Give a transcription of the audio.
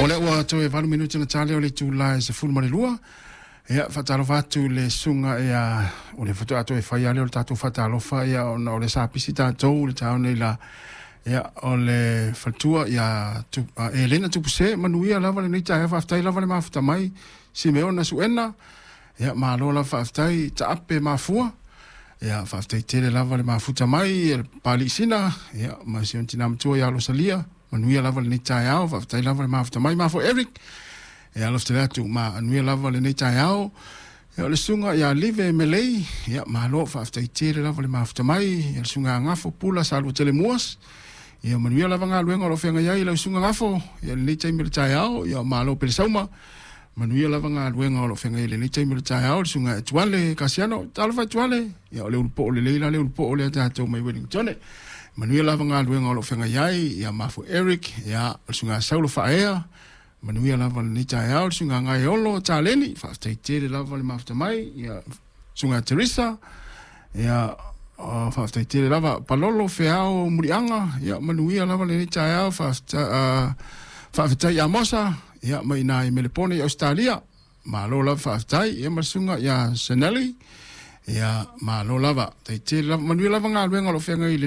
O lea ua toe 8 minute na tale o le itula e 12. Ia, faatalofa atu i le susuga ia, o le faatoa toe fai lava lea o le tatou faatalofa, ia, ona o le sa pisi tatou i le taeao nei la. Ia, o le faletua ia Elena Tupuse, manuia lava lenei taeao, faafetai lava le mafuta mai, Simeona Suena, ia, malo lava faafetai, Taape Mafua, ia, faafetai tele lava le mafuta mai, le Papalii Sina, ia, ma si ona tina matua ia Rosalia, manuia lava lenei taeao, faafetai lava le mafuta mai, Mafua Eric, ia, alofa tele atu, manuia lava lenei taeao. Ia, o le susuga ia Live Melei, ia, malo, faafetai tele lava le mafuta mai, ia, le susuga Gafo Pula Salua Tele Muas, ia, manuia lava galuega o lo o feagai ai lau susuga Gafo, ia, lenei taimi o le taeao, ia, malo Pelesauma, manuia lava galuega o lo o feagai ai lenei taimi o le taeao, le susuga Etuale Kasiano, talofa Etuale, ia, o le ulupoo lelei la le ulupoo lea tatou mai Wellington, manuia lava galuega o lo o feagai ai, ia, Mafua Eric, ia, o le susuga Saulo Faaea, manuia lava lenei taeao, le susuga Gaeolo Taleni, faafetai tele lava le mafuta mai, ia, susuga Teresa, ia, faafetai tele lava, Palolo Feao Muliaga, ia, manuia lava lenei taeao, faafetai Amosa, ia, mai ina i Melepone i Ausetalia, malo lava faafetai, ia, ma le susuga ia Sanelli, ia, malo lava, faafetai tele lava, manuia lava galuega o lo o feagai.